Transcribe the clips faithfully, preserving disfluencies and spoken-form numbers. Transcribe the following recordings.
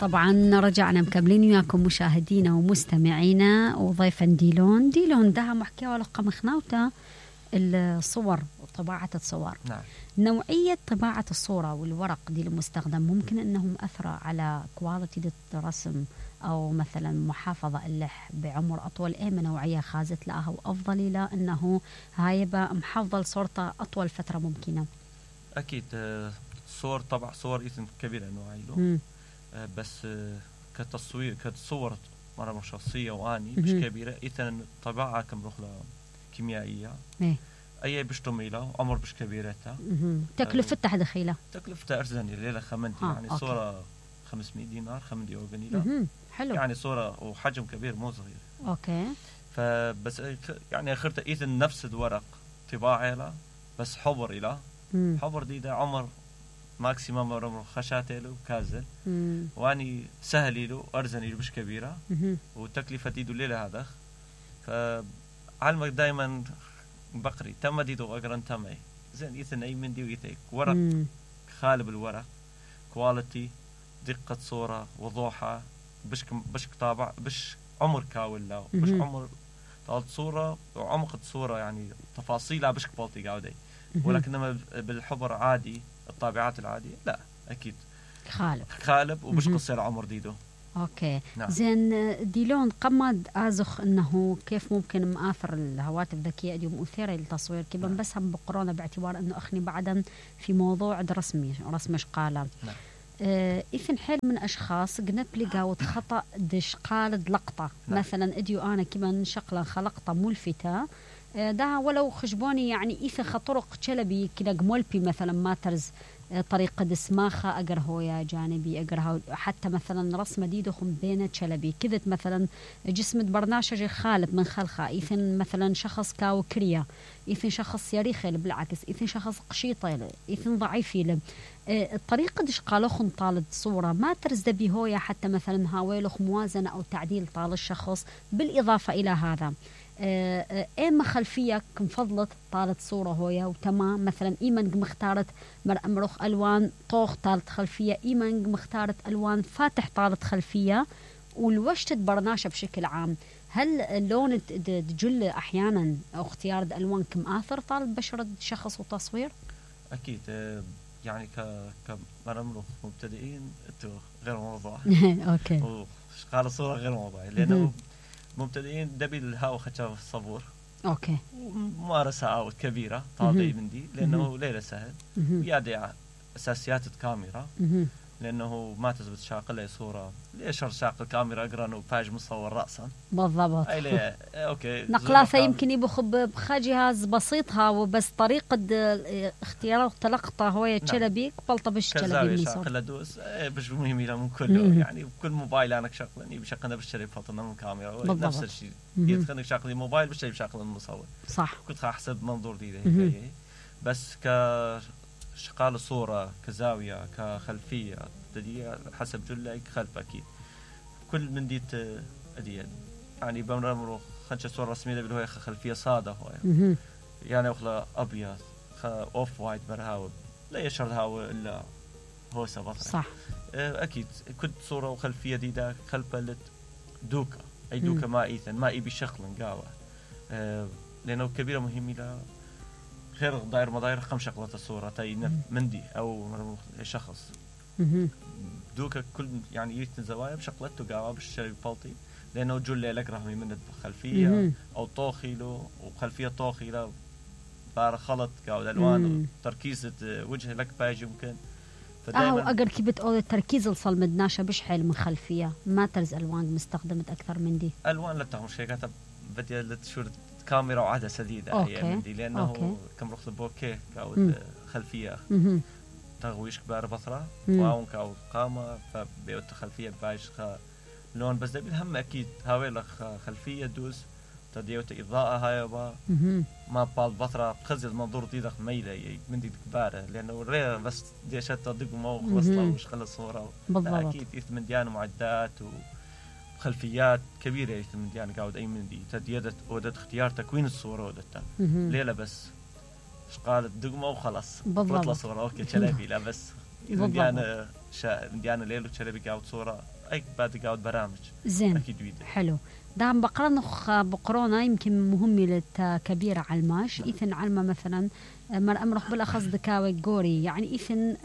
طبعا رجعنا مكملين وياكم مشاهدينا ومستمعينا وضيفا ديلون ديلون ده محكي ولا قمخناوتا الصور وطباعة الصور. نعم. نوعية طباعة الصورة والورق دي المستخدم ممكن انه مأثرة على كواليتي الرسم او مثلا محافظة اللح بعمر اطول. ايه من نوعية خازت لها وافضل لا انه هاي محافظة صورته اطول فترة ممكنة؟ اكيد صور طبع صور ايثن كبيرة نوعي له بس كتصوير كتصور مرة شخصية واني مش كبيرة ايثن طباعة كم رخلة كيميائية ايه اي بشتميلة عمر بش كبيرتها تكلفتها دخيلة تكلفتها ارزاني ليلة خمنتي يعني أوكي. صورة خمسمية دينار خمدي أوغنيلة حلو يعني صورة وحجم كبير مو صغير. اوكي فبس يعني اخرت ايثن نفس الورق طباعة له بس حبر إله حبر دي ده عمر ماكسيمم عمر خشاتي له كازل واني سهلي له ارزاني له مش كبيرة وتكلفة ديدو ليلة هذا فعلمك دايما بقري تم ديدو اقرن تمي زين ايثن اي من دي ويتك ورق مم. خالب الورق كواليتي دقة صورة وضوحها بش بش طابع بش عمر كاول لا بش عمر طالت صورة وعمق الصورة يعني تفاصيلها بش كبالتي قاعدة ولكنما بالحبر عادي الطابعات العادية لا اكيد خالب خالب وبش قصير عمر ديدو. اوكي نعم. زين ديلون قمد ازخ انه كيف ممكن مآثر الهواتف الذكيه اليوم مثيره للتصوير كيف نعم. بس هم بقرونا باعتبار انه اخني بعدا في موضوع رسمي رسم شقاله نعم. آه إثن حيل من أشخاص قنب لقاوت خطأ دش قالد لقطة نعم. مثلا اديو أنا كمان شقلا خلقطة ملفتة آه ده ولو خشبوني يعني إثن خطرق شلبي كده قمولبي مثلا ماترز طريقة دسماخة أقر هويا جانبي أقر حتى مثلا رسمة دي دخم بين شلبي كذت مثلا جسم برناشج خالب من خلخة إيثن مثلا شخص كاو كريا إيثن شخص يريخي بالعكس إيثن شخص قشيطة إيثن ضعيفي الطريقة دش قالوخن طالد صورة ما ترزد بهويا حتى مثلا هاويلوخ موازنة أو تعديل طال الشخص بالإضافة إلى هذا ايما خلفيه كم فضلت طالت صوره هويا وتمام مثلا ايمن مختارت مر امرخ الوان طوخ طالت خلفيه ايمن مختارت الوان فاتح طالت خلفيه والوشتت برناشه بشكل عام. هل اللون تجل احيانا او اختيار الالوان كم اثر طالت بشره شخص وتصوير؟ اكيد يعني ك كمر امرخ مبتدئين غير موضوع اوكي قال الصوره غير موضوع لانه مبتدئين دبي الهاو خشاف الصبور اوكي ممارسه عاود كبيره طالعي من دي لانه ليله سهل ويادي اساسيات الكاميرا لانه ما تثبت شاقله صوره ليش شاقل كاميرا اقرا انه باج مصور راسا بالضبط اي اوكي نقلاثه يمكن يبخ بجهاز بسيطها وبس طريقه اختيار تلقطه هو تشلبي قبلطه بش تشلبي من شاقله دوس باش مهم له من كله يعني بكل موبايل انا شغلني بشغلنا بالشري فاطمه من كاميرا نفس الشيء يدخلني شغلي موبايل بالشيء بشغل المصور صح كنت احسب منظور دي هي بس ك شقال الصورة كزاوية كخلفية تدي حسب جلك خلف أكيد كل من ديت أديان يعني بمرمرو خنش صورة رسمية بالهوية خلفية صادة هوية يعني أخلا أبيض أوف وايت برهاو لا يشرد هاو إلا هو سبطة صح أكيد كل صورة وخلفية دي دا خلفة دوكا أي دوكا ما إيثن ما إيبي شخل قاوة لأنه كبيرة مهمة لا غير داير مداير خم شغلة الصورة تاي مندي أو شخص دوكا كل يعني يتن زوايا بشغلته قاوة بالشري بالطي لأنه جل لك رحمي من الخلفية أو طوخي له وخلفية طوخي له بار خلط قاوة الألوان تركيزة وجه لك باج يمكن أو أقر كي بتقول التركيز الصل مدناشة بش حيل من خلفية ما ترز ألوان مستخدمت أكثر من دي ألوان لا تهمش هيك بدي لتشور كاميرا وعدسة جديدة هي دي لأنه أوكي. كم رخص بوكيه كاو خلفية تغويش كبار بصرة واون كاو قامة فبيوت خلفية بايش خا لون بس ده بالهم أكيد هاوي لك خلفية دوس تديوت إضاءة هاي با ما بال بصرة خزل منظور دي دخ ميلة من دي كبارة لأنه ريه بس دي شت تدق مو خلصنا وش خلص صورة أكيد من ديان معدات و خلفيات كبيرة يتم ديان قاعد أي من دي تديدت ودت اختيار تكوين الصورة ودتها ليلة بس قالت دقمة وخلاص بطلة صورة أوكي شلبي لا بس ديان شا ديان ليلة شلبي قاعد صورة اي بعد قاعد برامج زين اكيد ويدا حلو دام بقرنخ بقرونا يمكن مهمة للكبيرة على الماش إيثن علمة مثلا مر أمرخ بالأخص دكاوي جوري يعني إيثن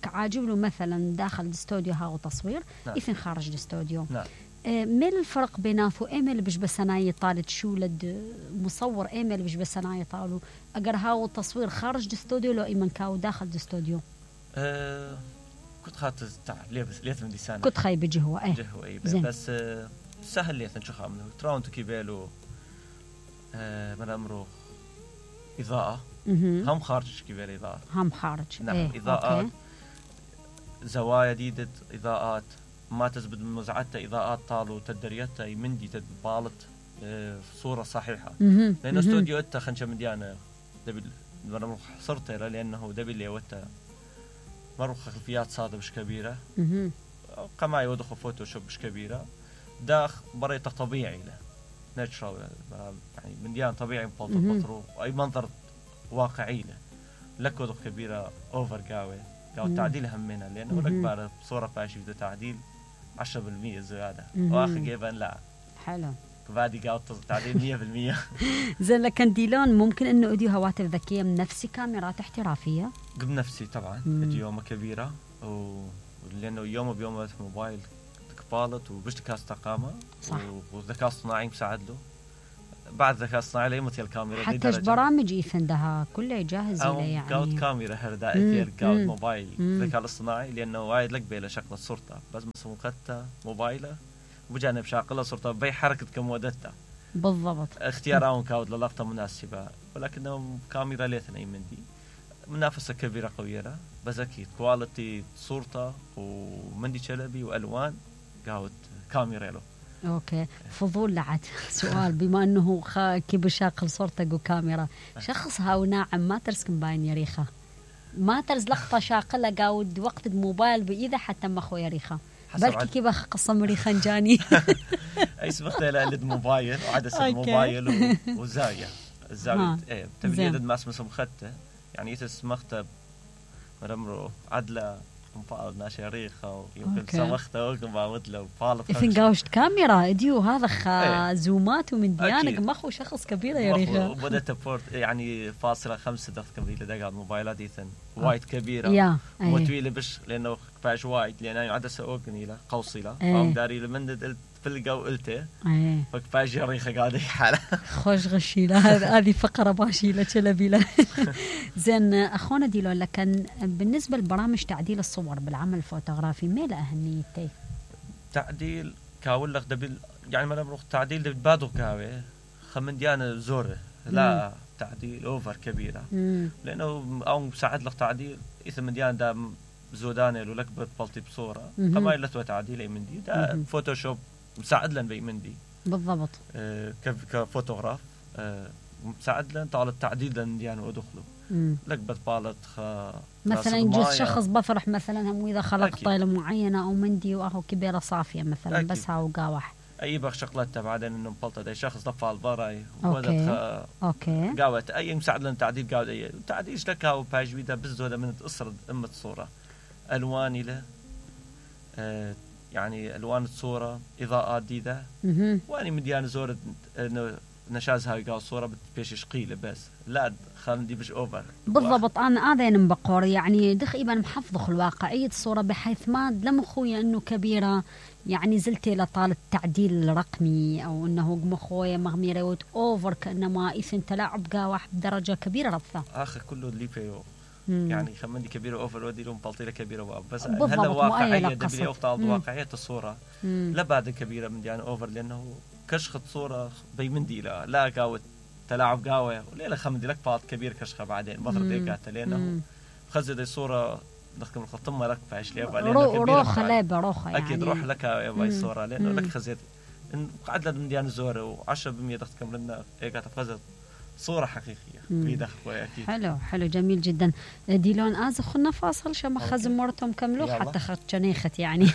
كعاجب له مثلا داخل الاستوديو هاو تصوير نعم. إيثن خارج الاستوديو نعم. ميل الفرق بيناتو إيميل بش بسناي طالت شو لد مصور إيميل بش بسناي طالو أجر هاو التصوير خارج الاستوديو لو إيمن كاو داخل الاستوديو أه كنت خاطر تاع ليه بس ليه من ديسان كنت خاي بجهوة إيه جهوة إيه بس أه سهل ليه شو خامله تراونتو كيبالو أه من أمره إضاءة هم خارج كيبالو إضاءة هم خارج نعم إيه. إضاءات أوكي. زوايا جديدة إضاءات ما تزبد من مزعتها إضاءات طالو تدريتها يمندي تبالط أه صورة صحيحة لأنه استوديو إتا خنشة مديانة دبل من صرت لأنه دبل اللي وتا مرة خلفيات صادة مش كبيرة قماي ودخل فوتوشوب مش كبيرة داخ بريته طبيعي له ناتشرال يعني من ديان طبيعي ببلط البطرو أي منظر واقعي له لك ودخل كبيرة أوفر قاوي قاوي تعديل همنا لأنه لك بارة بصورة باشي بده تعديل عشرة بالمية زيادة وآخر جيبان لا حلو بعدي قاعد تعديل مية بالمية زين لكن ديلون ممكن انه اديو هواتف ذكيه من نفسي كاميرات احترافيه قبل نفسي طبعا ادي يومه كبيره و... لانه يومه بيومه موبايل تكبالت وبش ذكاء استقامه وذكاء اصطناعي مساعد له بعد ذكاء اصطناعي ليمتي الكاميرا حتى برامج يفندها كلها جاهزه له يعني قاعد كاميرا هردا اثير قاعد موبايل ذكاء الاصطناعي لانه وايد لك بيله شكل صورته بس مسوقتها موبايله وبجانب شاقله صورته بي حركه كمودتها بالضبط اختيارهم كاود للقطه مناسبه ولكنه كاميرا ليتنا يمندي منافسه كبيره قويه بس اكيد كواليتي صورته ومندي شلبي والوان قاود كاميرا له اوكي فضول لعت سؤال بما انه كيف شاقل صورتك وكاميرا شخص هاو ناعم ما ترسكن باين يا ريخه ما ترز لقطه شاقله قاود وقت الموبايل باذا حتى ما اخويا ريخه بلكي كيف قصة مريخا جاني اي سبختها لقلد موبايل وعدسة الموبايل وزاوية الزاوية ايه تبديد ما اسمه سمخته يعني يتسمخته مرمرو عدلة مفاض ناشي ريخة ويمكن سمخته وقم باودله وفالط إفن قاوشت كاميرا اديو هذا خا زومات ومن ديانك مخو شخص كبير يا ريخة وبدأت بورت يعني فاصلة خمسة دقيقة كبيرة دقاء الموبايلات إيثن وايد كبيرة وطويلة بش لأنه كفاش وايد لأنه عدسة أوغني له قوصي له فهم داري لمن فلقة وقلته فكفاش ريخة قاعدة حالة خوش غشي له هذه فقرة باشي له شلبي له زين أخونا ديلون لكن بالنسبة لبرامج تعديل الصور بالعمل الفوتوغرافي ميلا أهميتي تعديل كاول لك دبل يعني ما نمرق تعديل دبل بادو كاوي خمن ديانة زورة لا مم. تعديل أوفر كبيرة مم. لأنه أو مساعد لك تعديل إذا من ديانة دا زودانة لو لك بطلتي بصورة كما يلتوى تعديل أي من دي دا مم. فوتوشوب مساعد لن بي من دي بالضبط آه كفوتوغراف آه مساعد لن طال التعديل لن ديانة ودخله لك بتبالط خ مثلا يجوز شخص بفرح مثلا هم إذا خلق طايلة معينة أو مندي وأهو كبيرة صافية مثلا أكيد. بس هاو قاوح أي بخ شغلته بعدين إنه مبلطة ده شخص ضفع البراي أوكي خ... أوكي قاوت أي مساعد لنا تعديل قاوت أي تعديل لك هاو باج بيدا بزودة من تقصر أمة صورة ألواني له آه يعني ألوان الصورة إضاءات جديدة وأني مديان زورة إنه نشاز هاي قال صورة بتبيش قيلة بس لا خلنا دي بش أوفر بالضبط أنا هذا نبقر يعني دخ إبن محفظ الواقعية الصورة بحيث ما لم خويا إنه كبيرة يعني زلتي لطال التعديل الرقمي أو إنه مخويا مغميرة وت أوفر كأنما إثن تلاعب قاوح بدرجة كبيرة رفضة آخر كله اللي فيه يعني خمن دي كبيرة أوفر ودي لهم بلطيلة كبيرة واب بس هلا واقعية دبلي أفتال واقعية الصورة مم. لا بعد كبيرة من يعني أوفر لأنه كشخة صورة بي من دي لا لا قاوة تلاعب قاوة وليلة خمن دي لك فاط كبير كشخة بعدين بطر ديكاته لأنه خزي دي صورة نخكم الخطمة لك فايش ليه روخة لابة روخة يعني أكيد روح لك يا باي الصورة لأنه لك خزيت إن قعد لنا من ديان زورة وعشرة بالمية تخكم لنا إيقات فزت صورة حقيقية بيد أخوي أكيد حلو حلو جميل جدا ديلون آز خلنا فاصل شما خزم مرتهم كملوا حتى خد شنيخت يعني